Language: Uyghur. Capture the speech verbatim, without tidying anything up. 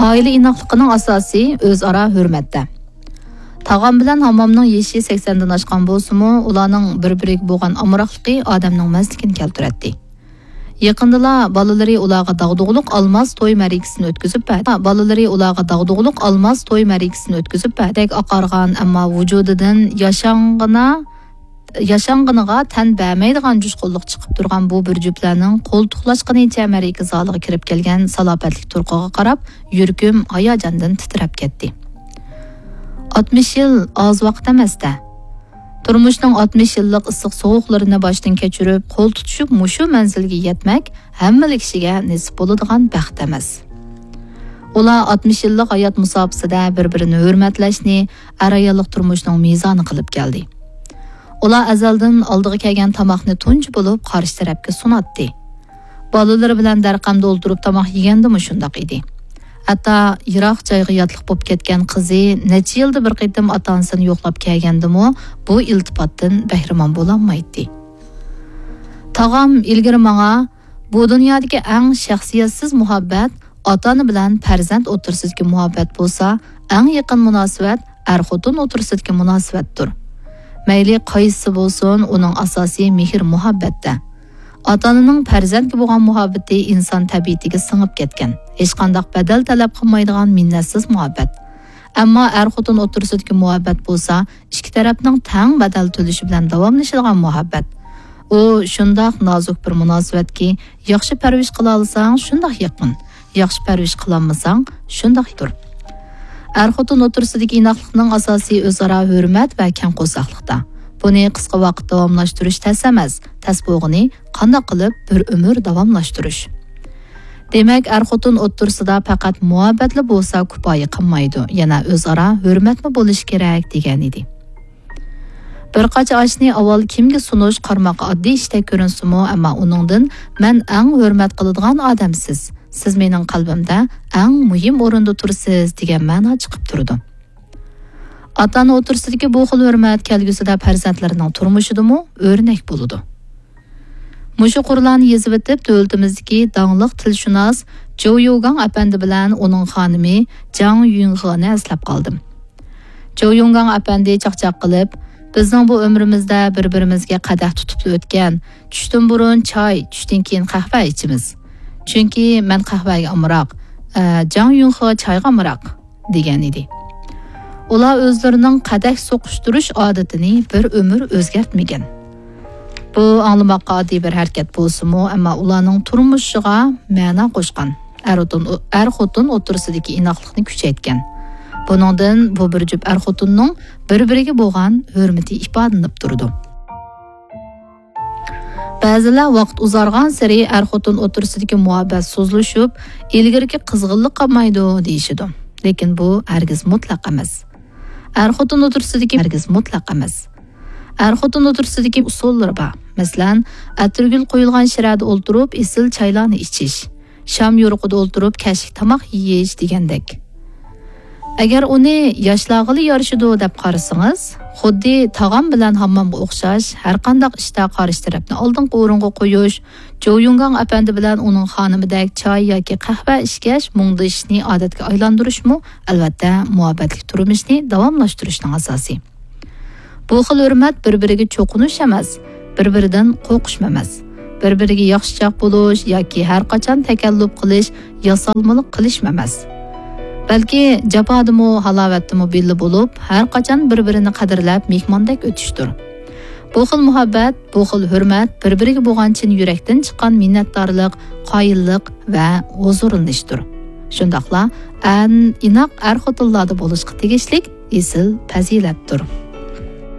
ئائىلە ئىناقلىقىنىڭ ئاساسى ئۆزئارا ھۆرمەتتە. تاغام بىلەن ھاممامنىڭ يېشى سەكسەندىن ئاشقان بولسىمۇ، ئۇلارنىڭ بىر-بىرىگە بولغان ئامراقلىقى ئادەمنىڭ مەستلىكىنى كەلتۈرەتتى. يېقىندىلا بالىلىرى ئۇلارغا داغدۇغىلىق ئالماس توي مەرىكىسىنى ئۆتكۈزۈپ بەردى. بالىلىرى ئۇلارغا داغدۇغىلىق ئالماس توي مەرىكىسىنى ئۆتكۈزۈپ بەردى. ئاقارغان، ئەمما ۋۇجۇدىدىن ياشانغىنا، ياشانغىنىغا تەن بەرمەيدىغان جۇشقۇنلۇق چىقىپ تۇرغان بۇ بىر جۈپلەرنىڭ قولتۇقلاشقىنىچە مەرىكە زالىغا كىرىپ كەلگەن سالاپەتلىك تۇرقىغا قاراپ، يۈرىكىم ھاياجاندىن تىترەپ كەتتى. ئاتمىش يىل ئاز ۋاقىت ئەمەس-دە. تۇرمۇشنىڭ ئاتمىش يىللىق ئىسسىق سوغۇقلىرىنى باشتىن كەچۈرۈپ، قول تۇتۇشۇپ مۇشۇ مەنزىلگە يەتمەك ھەممىلا كىشىگە نېسىپ بولىدىغان بەخت ئەمەس. ئۇلار ئاتمىش يىللىق ھايات مۇساپىسىدە بىر-بىرىنى ھۆرمەتلەشنى ئەر-ئاياللىق تۇرمۇشنىڭ مىزانى قىلىپ كەلدى. ئۇلار ئەزەلدىن ئالدىغا كەلگەن تاماقنى تۇنجى بولۇپ قارشى تەرەپكە سۇناتتى. بالىلىرى بىلەن دەرقەمدە ئولتۇرۇپ تاماق يېگەندىمۇ شۇنداق ئىدى. ھەتتا يىراق جايغا ياتلىق بولۇپ كەتكەن قىزى نەچچە يىلدا بىر قېتىم ئاتا-ئانىسىنى يوقلاپ كەلگەندىمۇ بۇ ئىلتىپاتتىن بەھرىمەن بولالمايتتى. تاغام ئىلگىرى ماڭا، بۇ دۇنيادىكى ئەڭ شەخسىيەتسىز مۇھەببەت ئاتا-ئانا بىلەن پەرزەنت ئوتتۇرىسىدىكى مۇھەببەت بولسا، ئەڭ يېقىن مۇناسىۋەت ئەر-خوتۇن ئوتتۇرىسىدىكى مۇناسىۋەتتۇر. مەيلى قايسىسى بولسۇن، ئۇنىڭ ئاساسى مېھىر-مۇھەببەتتە. ئاتا-ئانىنىڭ پەرزەنتكە بولغان مۇھەببىتى ئىنسان تەبىئىتىگە سىڭىپ كەتكەن، ھېچقانداق بەدەل تەلەپ قىلمايدىغان مىننەتسىز مۇھەببەت. ئەمما ئەر-خوتۇن ئوتتۇرىسىدىكى مۇھەببەت بولسا، ئىككى تەرەپنىڭ تەڭ بەدەل تۆلىشى بىلەن داۋاملىشىدىغان مۇھەببەت. ئۇ شۇنداق نازۇك بىر مۇناسىۋەتكى، ياخشى پەرۋىش قىلالىساڭ، شۇنداق يېقىن. ياخشى پەرۋىش قىلالمىساڭ، شۇنداق دۇر. ئەر-خوتۇن ئوتتۇرىسىدىكى ئىناقلىقنىڭ ئاساسى ئۆزئارا ھۆرمەت ۋە كەڭ قورساقلىقتا. بۇنى قىسقا ۋاقىت داۋاملاشتۇرۇش تەس ئەمەس، تەس بولغىنى قانداق قىلىپ بىر ئۆمۈر داۋاملاشتۇرۇش. دېمەك، ئەر-خوتۇن ئوتتۇرىسىدا پەقەت مۇھەببەتلا بولسا كۇپايە قىلمايدۇ، يەنە ئۆزئارا ھۆرمەتمۇ بولۇشى كېرەك، دېگەن ئىدى. بىر قاچا ئاشنى ئاۋۋال كىمگە سۇنۇش قارىماققا ئاددىي ئىشتەك كۆرۈنسىمۇ، ئەمما ئۇنىڭدىن «مەن ئەڭ ھۆرمەت قىلىدىغان ئادەم سىز، سىز مېنىڭ قەلبىمدە ئەڭ مۇھىم ئورۇندا تۇرىسىز» دېگەن مەنا چىقىپ تۇرىدۇ. ئاتا-ئانا ئوتتۇرىسىدىكى بۇ خىل ھۆرمەت كەلگۈسىدە پەرزەنتلىرىنىڭ تۇرمۇشىدىمۇ ئۆرنەك بولىدۇ. مۇشۇ قۇرلارنى يېزىۋېتىپ، دۆلىتىمىزدىكى داڭلىق تىلشۇناس جوۋ يۇگاڭ ئەپەندى بىلەن ئۇنىڭ خانىمى جاڭ يۈنخېنى ئەسلەپ قالدىم. جوۋ يۇڭگاڭ ئەپەندى چاقچاق قىلىپ، «بىزنىڭ بۇ ئۆمرىمىزدە بىر-بىرىمىزگە قەدەھ تۇتۇپلا ئۆتكەن، چۈشتىن بۇرۇن چاي، چۈشتىن كېيىن قەھۋە ئىچىمىز. چۈنكى مەن قەھۋەگە ئامراق، ئە، جاڭ يۈنخې چايغا ئامراق» دېگەن ئىدى. ئۇلار ئۆزلىرىنىڭ قەدەھ سوقۇشتۇرۇش ئادىتىنى بىر ئۆمۈر ئۆزگەرتمىگەن. بۇ ئاڭلىماققا ئاددىي بىر ھەرىكەت بولسىمۇ، ئەمما ئۇلارنىڭ تۇرمۇشىغا مەنا قوشقان، ئەر-خوتۇن، ئەر-خوتۇن ئوتتۇرىسىدىكى ئىناقلىقنى كۈچەيتكەن. بۇنىڭدىن بۇ بىر جۈپ ئەر-خوتۇننىڭ بىر-بىرىگە بولغان ھۆرمىتى ئىپادىلىنىپ تۇرىدۇ. بەزىلەر ۋاقىت ئۇزارغانسېرى ئەر-خوتۇن ئوتتۇرىسىدىكى مۇھەببەت سۇسلىشىپ، ئىلگىرىكى قىزغىنلىق قالمايدۇ دېيىشىدۇ. لېكىن بۇ ھەرگىز مۇتلەق ئەمەس. ئەر-خوتۇن ئوتتۇرىسىدىكى، ھەرگىز مۇتلەق ئەمەس. ئەر-خوتۇن ئوتتۇرىسىدىكى ئۇسۇللىرى بار. مەسىلەن، ئەتىرگۈل قويۇلغان شىرەدە ئولتۇرۇپ ئېسىل چايلارنى ئىچىش، شام يورۇقىدا ئولتۇرۇپ كەچلىك تاماق يېيىش دېگەندەك. ئەگەر ئۇنى ياشلارغىلا يارىشىدۇ دەپ قارىسىڭىز، خۇددى تاغام بىلەن ھاممامغا ئوخشاش، ھەرقانداق ئىشتا قارشى تەرەپنى ئالدىنقى ئورۇنغا قويۇش، جوۋ يۇڭگاڭ ئەپەندى بىلەن ئۇنىڭ خانىمىدەك چاي ياكى قەھۋە ئىچكەچ مۇڭدىشىشنى ئادەتكە ئايلاندۇرۇشمۇ، ئەلۋەتتە، مۇھەببەتلىك تۇرمۇشنى داۋاملاشتۇرۇشنىڭ ئاساسى. بۇ خىل ھۆرمەت بىر-بىرىگە چوقۇنۇش ئەمەس، بىر-بىرىدىن قورقۇشمۇ ئەمەس. بىر-بىرىگە ياخشىچاق بولۇش ياكى ھەرقاچان تەكەللۇپ قىلىش، ياسالمىلىق قىلىشمۇ ئەمەس. بەلكى جاپادىمۇ، ھالاۋەتتىمۇ بىللە بولۇپ، ھەرقاچان بىر-بىرىنى قەدىرلەپ، مېھماندەك ئۆتۈشتۇر. بۇ خىل مۇھەببەت، بۇ خىل ھۆرمەت بىر-بىرىگە بولغان چىن يۈرەكتىن چىققان مىننەتدارلىق، قايىللىق ۋە ھۇزۇرلىنىشتۇر. شۇنداقلا ئەن ئىناق ئەر-خوتۇنلاردا بولۇشقا تېگىشلىك ئېسىل پەزىلەتتۇر.